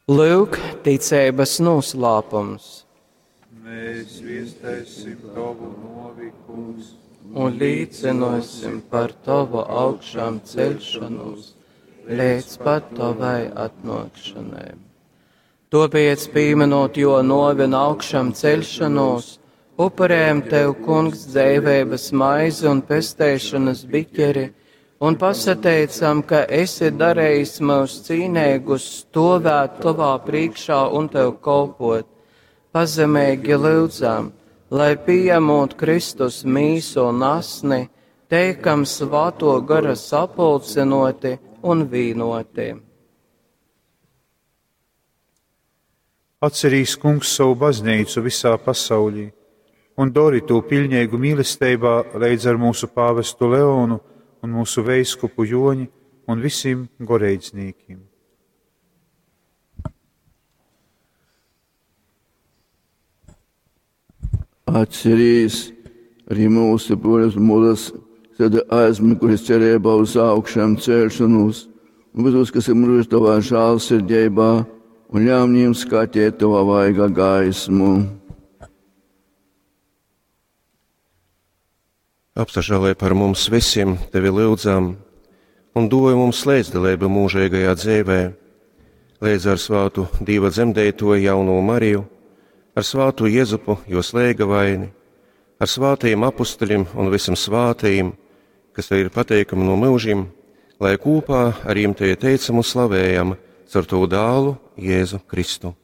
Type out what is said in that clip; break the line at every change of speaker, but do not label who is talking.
Lyuk, ticeibas noslēpums.
Mēs zviestēsim tavu novi, kungs,
un līdzinosim par tavu augšām ceļšanos līdz pat tavai atnākšanai. Tāpēc, pieminot jo novi un augšām ceļšanos, upurējam tev, kungs, dzīvības maizi un pestēšanas biķeri, un pasateicam, ka esi darījis mūs cīnīgus stovēt tavā priekšā un tev kalpot. Pazemīgi lūdzam, lai pieņemot Kristus mīsu un asni, teikam svāto gara sapulcinoti un vīnoti.
Atcerīs kungs savu baznīcu visā pasaulī un dori to pilnīgu mīlestībā leidz ar mūsu pāvestu Leonu un mūsu veiskupu Joņi un visiem goreidznīkim.
Atcerīs arī mūsu bruņas mūras, tad aizmiguši cerībā uz augšām celšanos, un visus, kas ir miruši tavā žēlsirdībā, un ļauj viņiem skatīt tavā vaiga gaismu.
Apsažālē par mums visiem, tevi lūdzam, un dod mums līdzdalību mūžīgajā dzīvē, līdz ar svātu Dieva dzemdēto jauno Mariju, ar svātu Jēzupu, jo slēga vaini, ar svātajiem apustuļiem un visam svātajiem, kas tev ir pateikami no mūžiem, lai kopā ar jiem tevi teicam un slavējam caur tavu dālu Jēzu Kristu.